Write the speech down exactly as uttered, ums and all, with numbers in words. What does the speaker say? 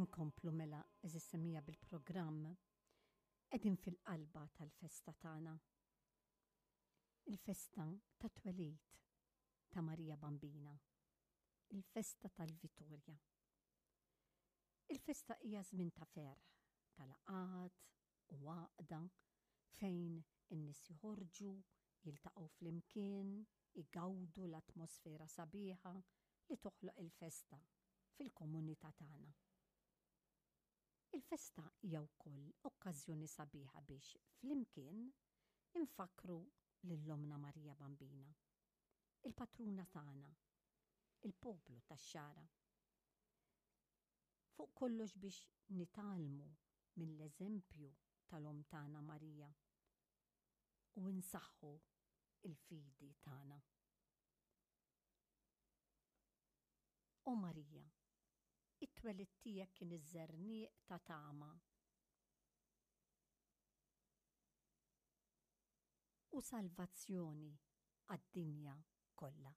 Inkomplu mela, għeżież semmiegħa, bil-programm. Qegħdin fil-qalba tal-festa tagħna. Il-festa ta' twelid ta' Marija Bambina. Il-festa tal-Vitorja. Il-festa hija żmien ta' ferħ, ta' laqgħat u għaqda fejn in-nies joħorġu, jiltaqgħu flimkien, igawdu l-atmosfera sabiħa li toħloq il-festa fil-komunità tagħna. Il-festa hija wkoll okkażjoni sabiħa biex flimkien infakru lil Ommna Marija Bambina, il-patruna tagħna, il-poplu tax-Xagħra. Fuq kollox biex nitgħallmu mill-eżempju tal-Omm tagħna Marija u nsaħħu il-fidi tagħna. O Marija, it-twelid tiegħek kien iż-żerniq ta' tama u salvazzjoni għad-dinja kollha.